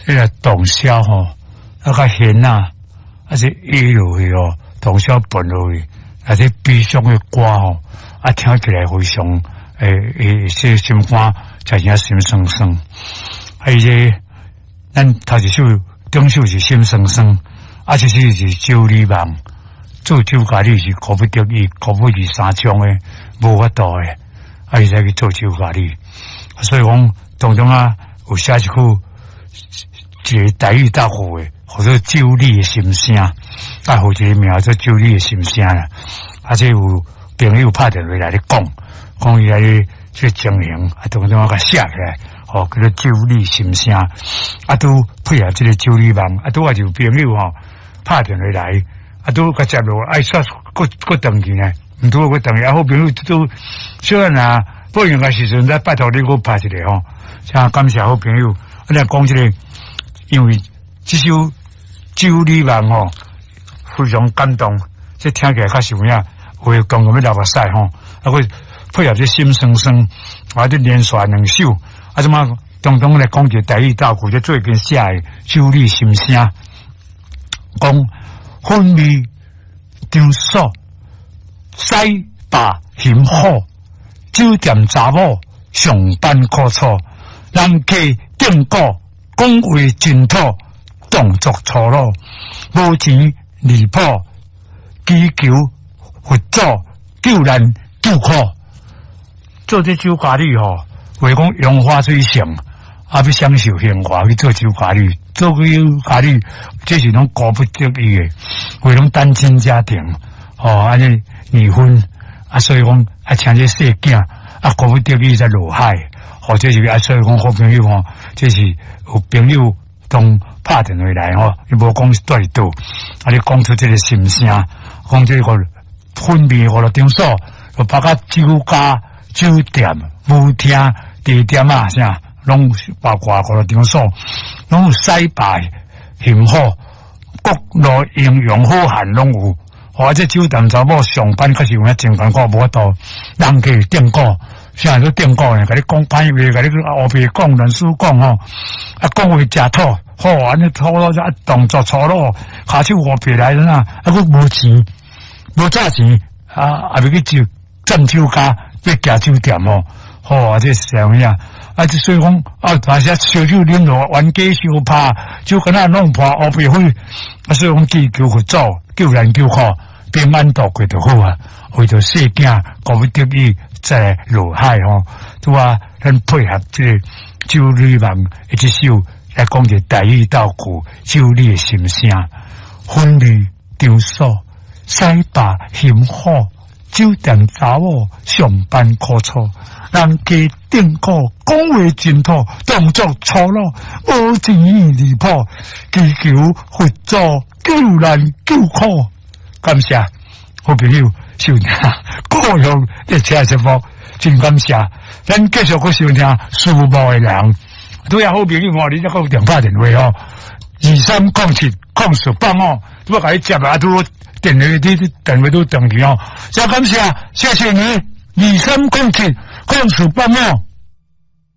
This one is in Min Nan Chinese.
彼个洞簫吼，啊佮弦仔，啊這壓落去吼，洞簫撥落去，啊這悲傷的歌吼，啊聽起來非常會這心肝真正心酸酸。啊伊這咱頭一首頂首是心酸酸，啊這首是周禮望做酒家女是苦不得已，苦不二三種的無法度的，啊伊才去做酒家女。所以講當中啊有寫一句一个台語答復的，號做酒女的心聲，啊，予一个名做酒女的心聲啦。啊，這有朋友拍電話來咧講，講伊來咧這情形，啊，當中我共寫起來，吼，叫做酒女心聲，啊，拄配合這个酒女夢，啊，拄仔就有朋友吼拍電話來，啊，拄共接落，愛煞閣閣轉去呢，毋拄閣轉去，啊，好朋友拄小可若不用的時陣，再拜託你閣拍一个吼，真感謝好朋友，啊，你講這个，因為這首酒女夢吼非常感動，這聽起來較是有影，有講講欲流目屎吼，啊，閣配合這心酸酸，啊，這連續兩首，啊，這馬當中來講一個台語道具，這最近寫的酒女心聲，講婚味場所西霸辛苦，酒店查某上班苦楚，人客頂鼓講話真土，動作粗魯，無錢離譜，祈求佛祖救難救苦。做這酒家女吼，話講楊花水性，啊，欲享受榮華去做酒家女，做酒家女，這是攏苦不得已的，話攏單親家庭，吼，按呢離婚，啊，所以講啊，請這細囝，啊，苦不得已才落海，或者是啊，所以講好朋友吼，這是有朋友當拍電話來吼，伊無講是佇佗，啊，你講出這个心聲，講這个婚味娛樂場所，就包括酒家、酒店、舞廳、茶店啊，啥，攏包括娛樂場所，攏有洗白、幸福，各路英雄好漢攏有。或者酒店查某上班確實有影真艱苦，無法度，人客頂鼓，啥都頂鼓呢？共你講歹話，共你烏白講、亂輸講吼，啊，講話誠土，好按呢粗魯，啊，動作粗魯，跤手烏白來怎啊？啊，閣無錢，無詐錢，啊，也欲去酒佔酒家，欲行酒店吼，好啊，這是啥物啊？啊，這所以講啊，大家燒酒啉落，冤家相拍，酒敢若弄破烏白灰，啊，所以講祈求佛祖救難救苦。平安度過就好啊，為著細囝，苦不得已再落海吼，拄啊，咱配合這个酒女夢的這首來講一個台語道具，酒女的心聲，婚禮場所洗白辛苦，酒店查某上班苦楚，人客頂鼓講話真土，動作粗魯，無錢離譜，祈求佛祖救難救苦。感謝好朋友收聽，故鄉列車節目，真感謝。咱繼續閣收聽思慕的人，拄仔好朋友吼，你才閣有電拍電話吼，23070485，拄仔共你接啊，拄電話你電話都斷去吼，真感謝，謝謝你，23070485。